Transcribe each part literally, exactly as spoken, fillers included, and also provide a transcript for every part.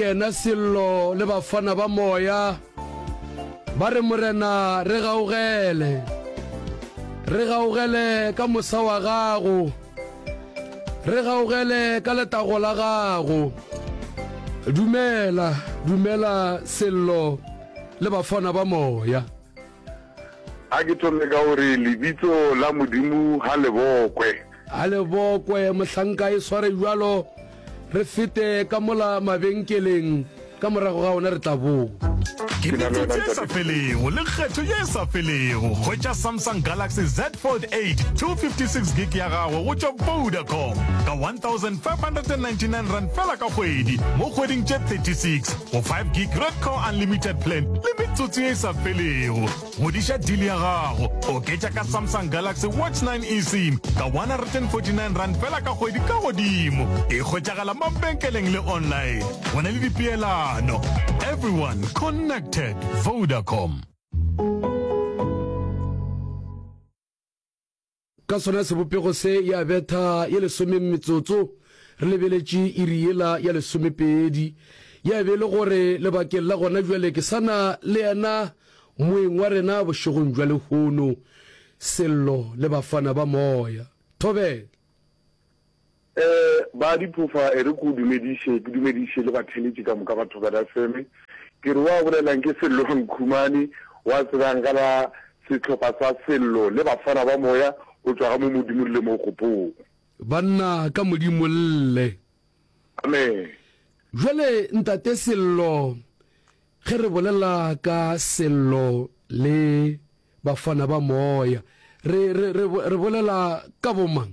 Yena Sello le bafana ba moya ba re, Morena, re gaugele, re gaugele ka mosa wa gago, re gaugele ka letago la gago. Dumela, dumela Sello le bafana ba moya. A ke thome ka gore lebitso la Modimo ga le bokwe. A le bokwe, mohlanka e sware bjalo, re fete ka mola mabenkeleng, ka morago ga ona re tla boa. Ke metsotso e sa felego le kgetho ye e sa felego. Hwetša Samsung Galaxy Z Fold eight two fifty six gig ya gago go tšwa Vodacom ka one thousand five hundred and ninety nine rand fela ka kgwedi mo kgweding tše thirty six go five gig Redco Unlimited plan le metsotso ye e sa felego. Godiša deal ya gago, oketša ka Samsung Galaxy Watch nine eSIM ka one hundred and forty nine rand fela ka kgwedi ka godimo. E hwetšagala mabenkeleng le online. Go na le dipeelano. Everyone connected. Vodacom. Ka sona sebopego se ya betha ye lesome metsotso re lebeletše iri yela ya lesomepedi. Ya be e le gore lebakeng la gona bjale ke sa na le yena moeng wa rena bošegong bja lehono, Sello le Bafana ba Moya. Thobela. Eh, ba diphofa, e re ke o dumediše, ke dumediše le batheeletši ka moka ba Thobela F M. Ke re wa bolelang ke Sello Nkhumane, wa tsebang ka la sehlopha sa Sello le Bafana ba Moya go tšwa ga mo Modimo le mo Kgopong. Banna ka Modimo lle. Amen. Jwale Ntate Sello, ge re bolela ka Sello le Bafana ba Moya, re, re, re, re bolela ka bomang?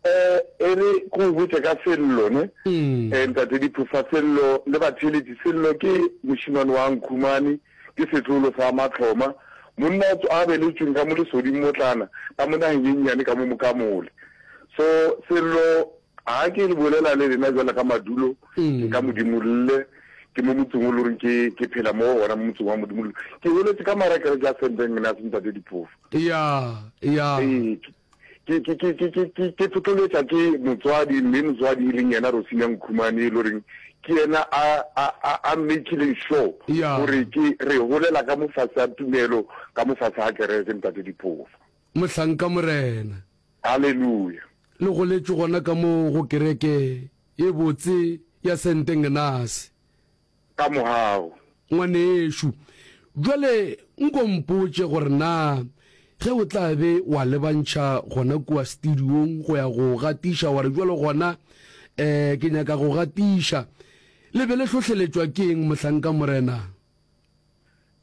Eh, e re ke go botše ka Sello, ne? Eh, Ntate Diphofa, Sello le batheeletši, Sello ke mošemane wa Nkhumane, ke setlolo sa Matlhoma, monna o a beletšweng ka mo Lesoding motlana, ka mo nageng ye nnyane ka mo Mokamole. So, Sello, ga ke le bolela le lena bjalo ka madulo, ke ka Modimolle, ke mo motseng o le goreng ke, ke phela mo gona, mo motseng wa Modimolle. Ke goletše ka mara kereke ya Saint Agnes, Ntate Diphofa. Ya, ya. Ee, ke, ke, ke, ke, ke, ke, ke tlotloletša ke motswadi, mme motswadi e leng yena Rosina Nkhumane, e le goreng ke yena a, a, a, a makileng sure Ya. gore ke re golela ka mo fase ga tumelo, ka mo fase ga kereke, Ntate Diphofa. Mohlanka Morena. Haleluya. Le goletše gona ka mo go kereke ye botse ya Saint Agnes. Ka mogau. Ngwanešu, bjale nko mpotše gore na ge o tla be wa lebantšha gona kua studiong go ya go gatiša, wa re bjalo gona, eh, ke nyaka go gatiša. Le be le hlohleletšwa ke eng, mohlanka Morena?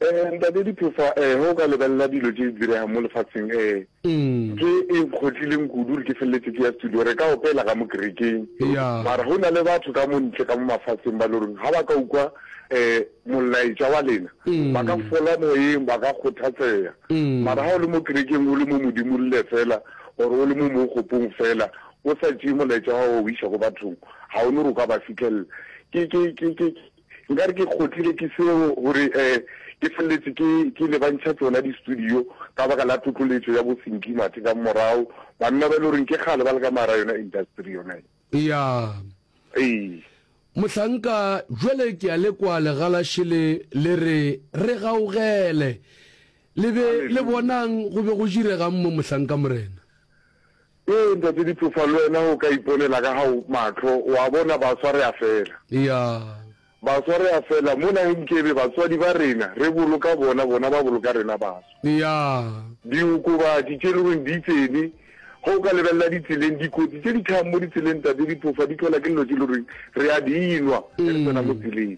Eh, Ntate Diphofa, eh, ge o ka lebelela dilo tše di diregang mo lefaseng, eh, ntho e nkgotlileng kudu gore ke feleletše ke ya studio, re ka opela ka mo kerekeng, Ya. mara go na le batho ka mo ntle ka mo mafaseng ba le goreng ga ba ka ukwa, eh, molaetša wa lena, ba ka fola moyeng, ba ka kgothatsega. Mara ga o le mo kerekeng o le mo Modimolle fela, or o le mo mookgopong fela, o sa tšee molaetša wa gago wa o iša ko bathong, ga o no gore o ka ba fihlelela. Ke, ke, ke, ke, Nkare ke kgotlile ke seo gore um ke feleletše ke ke lebantšha tšona di-studio ka baka la tlotloletšo ya bo Sinki Mathe ka morago, banna ba e le goreng ke kgale ba le ka mara yona industry yona ye. Ya. Ee. Mohlanka, jwale ke a le kwa legalaše le le re, Re gaugele. Le be le bonang go be go diregang mo, mohlanka Morena? Ee, Ntate Diphofa, le wena o ka iponela ka gago mahlo, wa bona baswa re a fela. Ya. Baswa re a fela, mo nageng kebe batswadi ba rena re boloka bona, bona ba boloka rena baswa. Ya. Diokobatši tše le goreng di tsene, ge o ka lebelela ditseleng, dikotsi tše di tlhagang mo ditseleng, Ntate Diphofa, di tlhola ke dilo tše le goreng re a di nwa ge re tsena mo tseleng,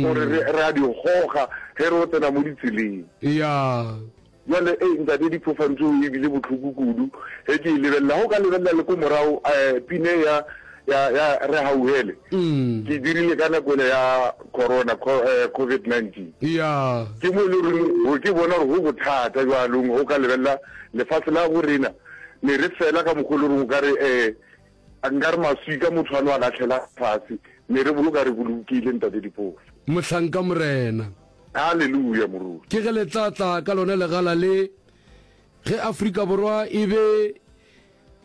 or re, re a di goga ge re o tsena mo ditseleng. Ya. Bjale, ei, Ntate Diphofa, ntho e bile bohloko kudu ge ke e lebelela. Ge o ka lebelela le ko morago, eh, pine ya, ya, ya Re Hauhele, ke e dirile ka nako ele ya corona, co, eh, COVID nineteen. Ya. Ke mo e le goreng, go, ke bona gore go bothata bjalong ge o ka lebelela lefase la bo rena, ne re fela ka mokgwa o le goreng o ka re, eh, nkare maswika motho a no a lahlela fase, ne re boloka re bolokile, Ntate Diphofa. Mohlanka Morena. Haleluya, moruti. Ke ge le tla tla ka lona legala le, ge Afrika Borwa e be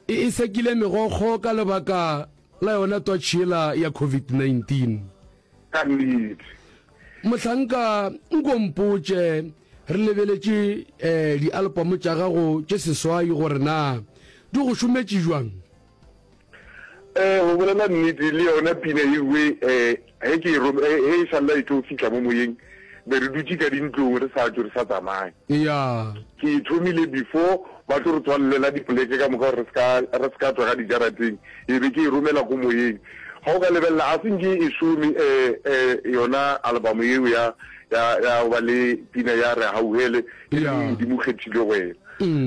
e e sekile megokgo ka lebaka la yona twatši yela ya COVID nineteen. Ka nnete. Mohlanka, nko mpotše, re lebeletše um dialpamo tša gago tše seswai gore na di go šometše bjang? Um go bolela nnete, le yona pina ewe um ge ke e ge e šalla e tlo fihla mo moyeng, be re dutše ka dintlong re sa tšwe re sa tsamaye. Ya. Ke e thomile before ba tlo re tswalelela dipoleke ka moka gore re se re se ka tšwa ka dijarateng, e be ke e romela ko moyeng. Ga o ka lebelela, a se nke e šome um um yona album yeo ya ya ya go ba le pina ya Re Hauhele, e leng Modimo Kgethile Wena.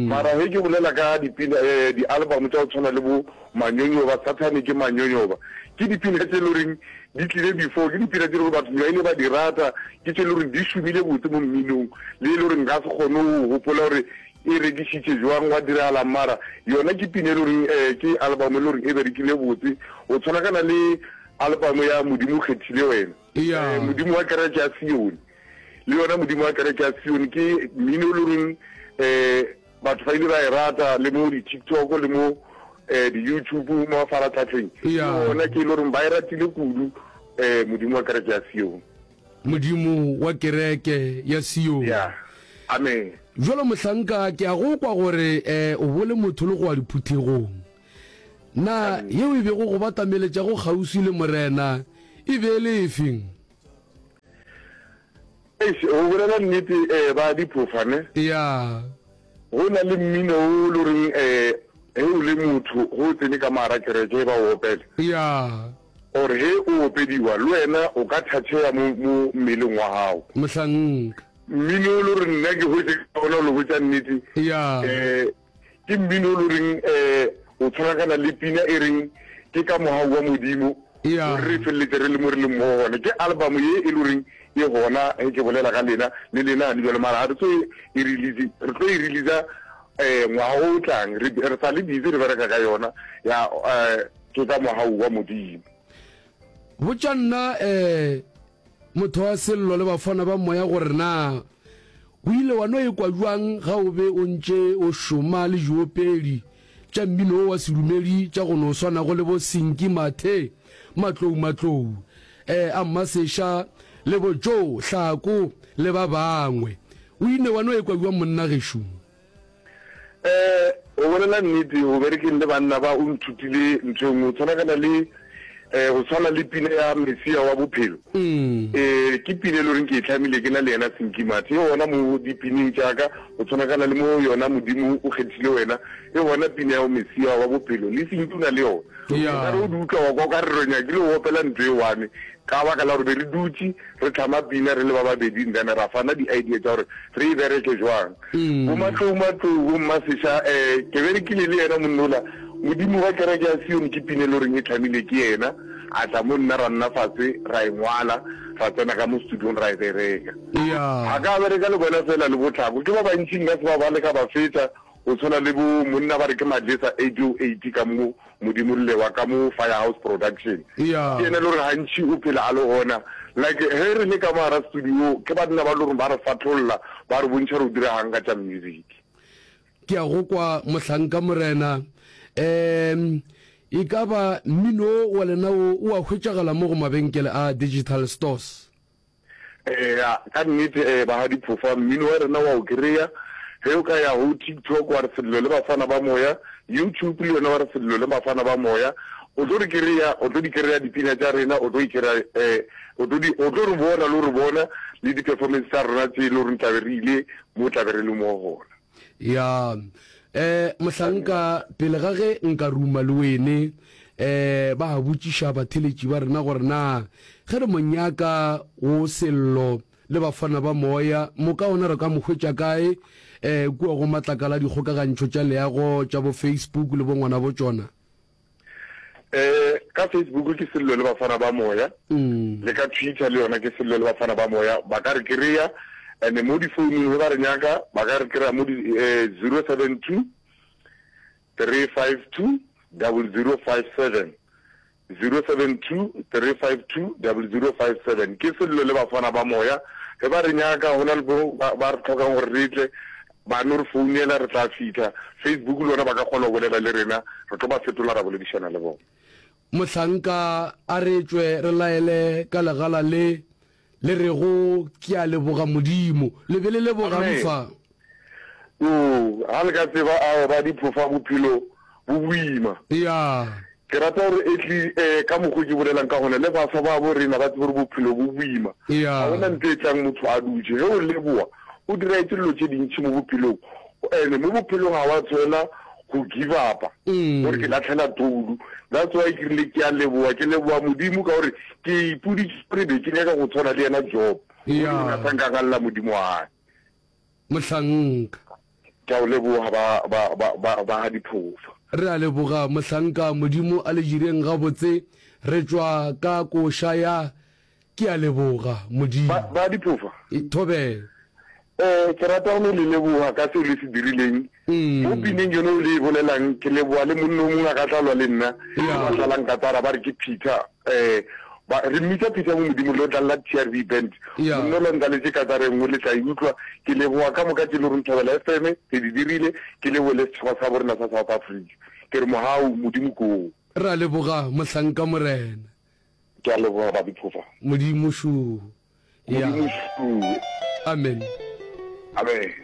Mara ge ke bolela ka dipina um di-album tša go tshwana le bo Manyonyoba, Sathane ke Manyonyoba, ke dipina tše e le goreng di tlile before, ke dipina tše e le gore batho ba ile ba di rata, ke tše e le goreng di šomile botse mo mminong, le e le gore nka se kgone go gopola gore e rekišitše jwang, gwa diragalang, mara yona ke pina e le goreng um ke album e le goreng e berekile botse, go tshwanakana le album ya Modimo Kgethile Wena, Yeah. um Modimo wa Kereke ya Sione, le yona Modimo wa Kereke ya Sione ke mmino e le goreng um batho ba ile ba e rata, le mo di-TikTok le mo um di-YouTube mo mafaratlhatlheng, ke Yeah. yona ke e le goreng ba e ratile kudu, um Modimo wa Kereke ya Sione. Modimo wa Kereke ya Sione. Yeah. Amen. Jwalo mohlanka, ke a go kwa gore um o bole motho le go wa diphuthegong. Na yeo e bego go batameletšago kgauswi le Morena e be e le efeng? Eish, go bolela nnete, um ba diphofa ne. Ya. Go na le mmino o le goreng um ge o le motho ge o tsene ka mogara kereke ba o opela. Ya. Or ge o opediwa le wena o ka thatšhega mo mo mmeleng wa gago. Mohlanka. Mmino o le gore nna ke hwetše ka ona o le botša nnete. Ya. Um ke mmino o le goreng um o tshwanakana le pina e reng ke ka mohau wa Modimo Ya. gore re feleletše re le mo re leng mo gona. Ke album ye e le goreng e gona ge ke bolela ka lena le lena gane bjalo, mara ga re tlo e release, re tlo e releasa um ngwaga o tlang, re re sa le busy re bereka ka yona ya um ke ka mohau wa Modimo. Botša nna um motho wa Sello le bafana ba moya gore na o ile wa no ekwa bjang ga o be o ntše o šoma le diopedi tša mmino wo wa sedumedi tša go no swanago le bo Sinki Mathe, Matlou Matlou, eh, a Mmaseša le bo Joe Hlako le ba bangwe. O ile wa no ekwa bjang monna gešo? Eh, go bolela nnete, go berekeng le banna ba o nthutile ntho e nngwe, go tshwanakana le eh, go tshwana le pina ya Mesia wa Bophelo. Eh, ke pina e le goreng ke e hlamile ke na le yena Sinki Mathe, e gona mo dipineng tša ka, go tshwanakana le mo yona Modimo o Kgethile Wena, e gona pina ya Mesia wa Bophelo, le Sinki o na le yona. Ya. O ka re o di utlwa wa kwa o ka re re nyakile go opela ntho e one, ka baka la gore be re dutše re hlama pina re le ba babedi, then ra fana di-idea tša gore re e bereke jwang. Bo Matlou Matlou, bo Mmaseša, um ke berekile le yena monna ola, Modimo wa Kereke ya Sione ke pina e le goreng e hlamile ke yena, a tla mo nna ra nna fase ra e ngwala, ra tsena ka mo studiong ra e bereka. Ya. Ga ka bereka le bona fela le bo Tlhako, ke ba bantši nka se ba bale ka ba fetša, go tshwana le bo monna ba re ke Madlesa eight oh eight ka mo Modimo rile wa ka mo Firehouse Production. Ya. Ke yena e le gore gantši o phela a le gona. Like ge re le ka mo gara studio ke banna ba le gore ba re fatholla, ba re bontšha gore o diregang ka tša music. Ke a go kwa mohlanka Morena. Um e ka ba mmino wo wa lena wo o a hwetšagala mo go mabenkele a digital stores? Eya, ka nnete eh, ba ga Diphofa, mmino wa rena wa o kry-a. Ge o ka ya go TikTok wa re Sello le Bafana ba Moya, YouTube le yona wa re Sello le Bafana ba Moya, o tlo re kry-a, o tlo di kry-a dipina tša rena, o tlo e kry-a eh, o tlo di, o tlo re bona le go re bona le di-performance tša rena tše e le goreng tla be re ile mo tla be re le mo gona. Ya, eh, mohlanka, pele ga ge nka ruma le wene, eh, ba botšiša batheletši ba rena gore na ge re mo nyaka wo Sello le Bafana ba Moya, moka ona re ka mo hwetša kae, eh, kua go matlakala a dikgokagantšho tša leago tša bo Facebook le bo ngwana bo tšona? Eh, ka Facebook ke Sello le Bafana ba Moya, le ka Twitter le yona ke Sello le Bafana ba Moya, ba ka re kry-a. And mo difounung ge ba re nyaka, ba ka re kry-a mo di eh, zero seven two three five two double zero five seven, zero seven two three five two double zero five seven. Ke Sello le Bafana ba Moya. Ge ba re nyaka, go na le bo ba, ba re hlokang gore re tle, ba no re founela, re tla fihla. Facebook le yona ba ka kgona go bolela le rena, re tlo ba fetola ra boledišana le bona. Mohlanka a re tšwe re laele ka legala le le rego ke a leboga Modimo. Le be le lebogang fa? Oo, ga le ka tseba ao ba diphofa bophelo bo boima. Ya. Ke rata gore etli eh, ka mokgo ke bolelang ka gona le baswa ba bo rena ba tsebe gore bophelo bo boima. Ya. Ga gona ntho e tlang motho a dutše. Ge o leboa, o diraetše dilo tše dintši mo bophelong. Ene mo bophelong ga wa tshwela go give up-a, gore ke lahlela toulu. That's why ke rile ke a leboa, ke leboa Modimo ka gore ke ipoditše gore be ke nyaka go tshwana le yena Job. Ya. Modimo ga sa nka galela Modimo wa hae. Mohlanka. Ke a o leboga ba, ba, ba, ba, ba ga diphofa. Re a leboga mohlanka, Modimo a le direng gabotse. Re tšwa ka koša ya Ke a leboga Modimo. Ba, ba diphofa. Thobela. Eh, ke rata go no le leboga ka seo le se dirileng. Mo pineng yone o le e bolelang, ke leboga le monna o mongwe a ka tla lwa le nna, Ya. ba tlalang katara ba re ke Peter, eh, ba, re mmitsa Peter mo Modimo, le o dlalla T R V Band. Ya. Monna o la ntlaletše katara e nngwe, le tla e utlwa. Ke leboga ka moka tše le reng Thobela F M, le di dirile, ke leboge le setšhaba sa borena sa South Africa. Ke re mogau, Modimo ke oo. Re a leboga mohlanka Morena. Ke a leboga ba diphofa. Modimo šo. Ya. Modimo šo. Amen. Amen.